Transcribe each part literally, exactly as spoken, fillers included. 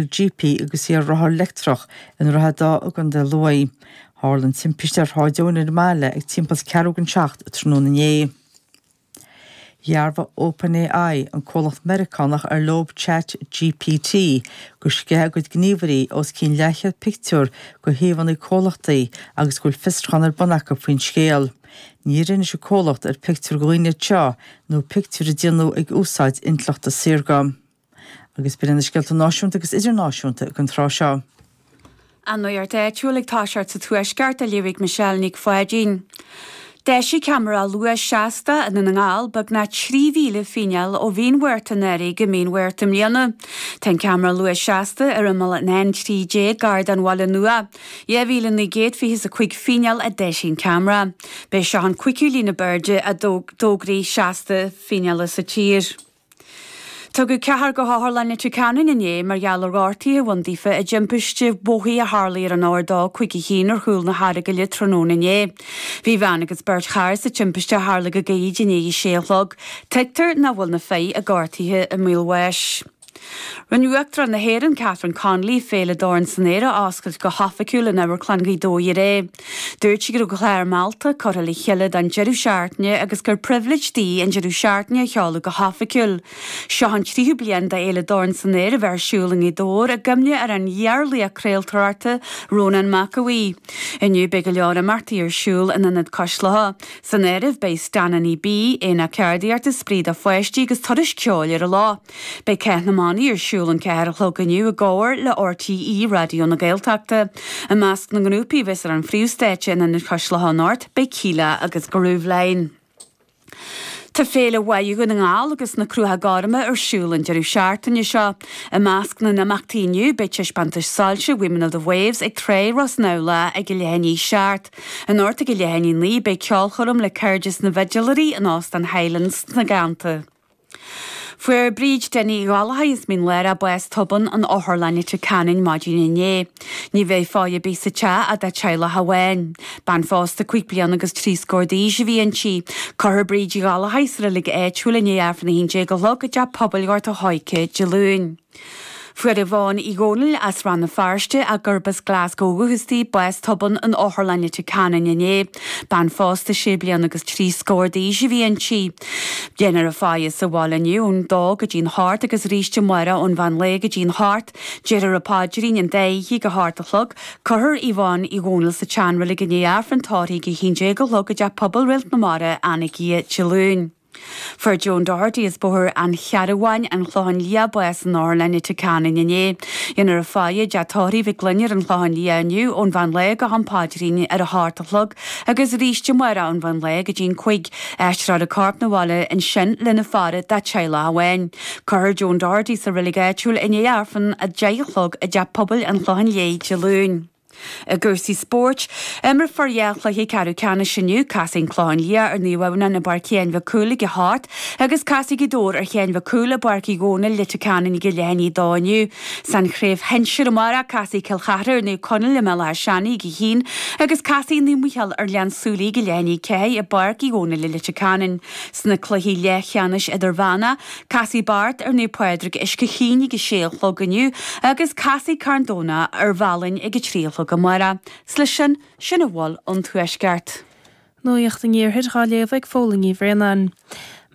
G P agus í ar rothar leictreach i nDroichead Átha i gContae Lú. Tharla an timpiste ar Shráid Eoin ar an mbaile ag timpeall ceathrú don seacht tráthnóna inné. Dhearbhaigh OpenAI, an comhlacht Meiriceánach ar leo Chat G P T, gur sceith a gcuid gníomhairí os cionn leathchéad pictiúr de shuíomhanna comhlachtaí agus go bhfuil fiosrúchán ar bun acu faoin scéal. Níor inis an comhlacht ar pictiúir de dhaoine seo nó pictiúir a déanadh ag úsáid intleachta saorga. Agus b'in na scéalta náisiúnta agus idirnáisiúnta don tráth seo. An nuacht áitiúil ag toiseacht sa Tuaisceart á léamh ag Michelle Nic Pháidín. D'eisigh ceamara luais seasta i nDún na nGall beagnach trí mhíle fíneáil ó mhí an Mhárta anuraidh go mí an Mhárta i mbliana. Tá an ceamara luais seasta ar imeall an N trí déag gar don Bhaile Nua. Dhá mhíle naoi gcéad fiche a cúig fíneáil a d'eisigh an ceamara. B'é seo an cúigiú líne b'airde a d'fhógraí seasta fíneála sa tír. Tugadh ceathrar go hOtharlann Leitir Ceanainn inné mar gheall ar ghortuithe a bhain daofa i dtimpiste bóthair a tharla ar an R dó cúig a haon ar chúl na hEaragaile tráthnóna inné. Bhí bean agus beirt chara sa timpiste a tharla go gairid i ndiaidh a sé a chlog. Tuigtear nach bhfuil na fir gortaithe i mbaol bháis. Rinne Uachtarán na hÉireann Catherine Connolly Féile Dorn san Aer a oscailt go hoifigiúil in Amharclann Ghaoth Dobhair aréir. Dúirt sí go raibh clár meallta curtha le chéile don deireadh seachtaine agus gur pribhléid di an deireadh seachtaine a sheoladh go hoifigiúil. Seo an tríú bliain d'Fhéile Dorn san Aer a bheith ar siúl i nGaoth Dobhair i gcuimhne ar an iarlaoch craoltóireachta Rónán Mac Aodha Bhuí. Inniu beidh go leor imeachtaí ar siúl in Ionad Cois Locha. San áireamh beidh Stananna B, Aonach Ceardaíochta, Spraoi do pháistí agus turas ceoil ar an lá. Beidh Cath na mBannaí ar siúl an ceathair a chlog inniu i gcomhar le R T É Raidió na Gaeltachta. I measc na ngrúpaí a bheas ar an phríomhstáitse in Ionad Cois Locha anocht, beidh Kíla agus Grooveline. Tá Féile Bháire Dhún na nGall agus na Cruacha Gorma ar siúl an deireadh seachtaine seo. I measc na n-imeachtaí inniu beidh taispeántas soilse Women of the Waves ag Trá Ros na ag a leath i ndiaidh a seacht. Anocht ag a leath i ndiaidh a naoi beidh ceolchoirm le Cairdeas na bhFidléirí in Óstán Highlands sna Gleannta. Fuair Bríd Denny Ghallachóir as Mín Lárach bás tobann in Otharlann Leitir Ceanainn maidin inné. Ní bheidh faire ar bith sa teach ach dá teaghlach amháin. Bean phósta cúig bliana agus trí scór d'aois a bhí inti. Cuirfear Bríd Ghallachóir sa reilig áitiúil i ndiaidh Aifreann a haon déag a chlog i dteach pobail Ghort an Choirce Dé Luain. Fuair Yvonne Uí Dhónaill as Rann na Feirste ach gurb as Glasgow ó dhúchas di bás tobann in Otharlann Leitir Ceanainn inné. Bean phósta sé bliana agus trí scór d'aois a bhí inti. Déanfar a faire sa bhaile inniu ón dó go dtí'n hocht agus arís amárach ón mheán lae go dtí'n hocht, Déarfar an paidrín an dá oíche ag a hocht a chlog, Cuirfear Yvonne Uí Dhónaill sa tseanreilig i ndiaidh Aifreann tórraimh ag a haon déag a chlog i dteach pobail Réalt na Mara Anagaire Dé Luain. Fuair Joan Doherty as Bóthar an Chearbháin an Clochán Liath bás in Otharlann Leitir Ceanainn inné. Déanfar a faire i dteach tórraimh Mhic Gloinn ar an Chlochán Liath inniu ón mheán lae go ham paidrín ar a hocht a chlog agus arís amárach ón mheán lae go dtí'n cúig. Aistreofar a corp 'na bhaile ansin lena faire dá teaghlach amháin. Cuirfear Joan Doherty sa reilig áitiúil i ndiaidh Aifreann a deich a chlog i dteach pobail an Chlocháin Léith Dé Luain. I gcúrsaí spóirt, imreofar dhá chluiche ceathrú ceannais inniu, casfaidh an Clochán Liath ar Naomh Adhamhnáin i bPáirc Sheáin Mhic Cumhaill ag a hocht, agus casfaidh Gaoth Dobhair ar Sheán Mhic Cumhaill i bPáirc Uí Dhónaill Leitir Ceanainn ag a leath i ndiaidh a dó inniu. San chraobh shinsir amárach casfaidh Cill Chartha ar Naomh Conaill i mBéal Átha Seanaidh ag a haon, agus casfaidh Naomh Micheál ar Ghleann tSúilí ag a leath i ndiaidh a ceathair i bPáirc Uí Dhónaill i Leitir Ceanainn. Sna cluichí leathcheannais idirmheánach, Casfaidh Beart ar Naomh Pádraig Uisce Chaoin ag a sé a chlog inniu agus casfaidh Carn Domhnach ar Mhalainn ag a trí a chlog amárach. 'S leis sin, sin a bhfuil ón Tuaisceart. Nuacht an Iarthair á léamh ag Fódhla Ní Bhraonáin.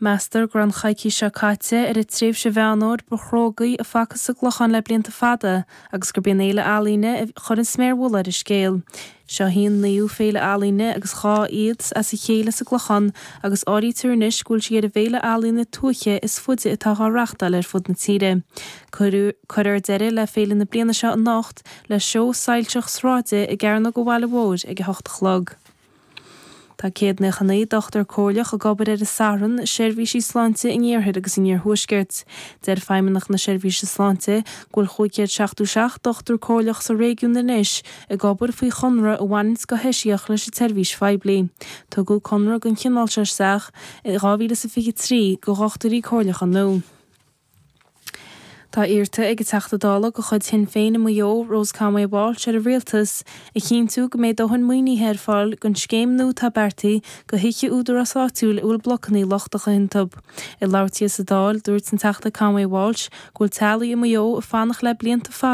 Meastar go raibh an choicís seo caite ar an tréimhse Mheán Fhómhair ba chrógaí a facthas sa gClochán le blianta fada agus gurb í an fhéile ealaíne a chuir an sméar mhullaigh ar an scéal. Seo í an naoú féile ealaíne agus dhá fhichead as a chéile sa gClochán agus áirítear anois go bhfuil sí ar an bhféile ealaíne tuaithe is faide atá á reáchtáil ar fud na tíre. Cuirfear deireadh le féile na bliana seo anocht le seó soilseach sráide i gCearnóg an Bhaile Mhóir ag a hocht a chlog. Tá céad nócha naoi dochtúir comhairleach ag obair ar an Satharn i seirbhísí sláinte in iarthar agus in iarthuaisceart. Deir Feidhmeannacht na Seirbhíse Sláinte go bhfuil cúig chéad seachtó seacht dochtúir comhairleach sa réigiún anois ag obair faoi chonradh a bhaineanns go heisiach leis an tseirbhís phoiblí. Tugadh conradh den chineál seo isteach i dhá mhíle is a fiche trí do dhochtúirí comhairleacha nua. Tá iarrta ag an Teachta Dála de chuid Shinn Féin i Maigh Eo, Rose Conway Walsh ar an Rialtas a chinntiú go mbeidh dóthain maoinithe ar fáil don scéim nua atá beartaithe do thithe údarás áitiúil a bhfuil blocanna lochtacha iontu. Ag labhairt di sa Dáil, dúirt an Teachta Conway Walsh go bhfuil teaghlaigh i Maigh Eo ag fanacht le blianta fada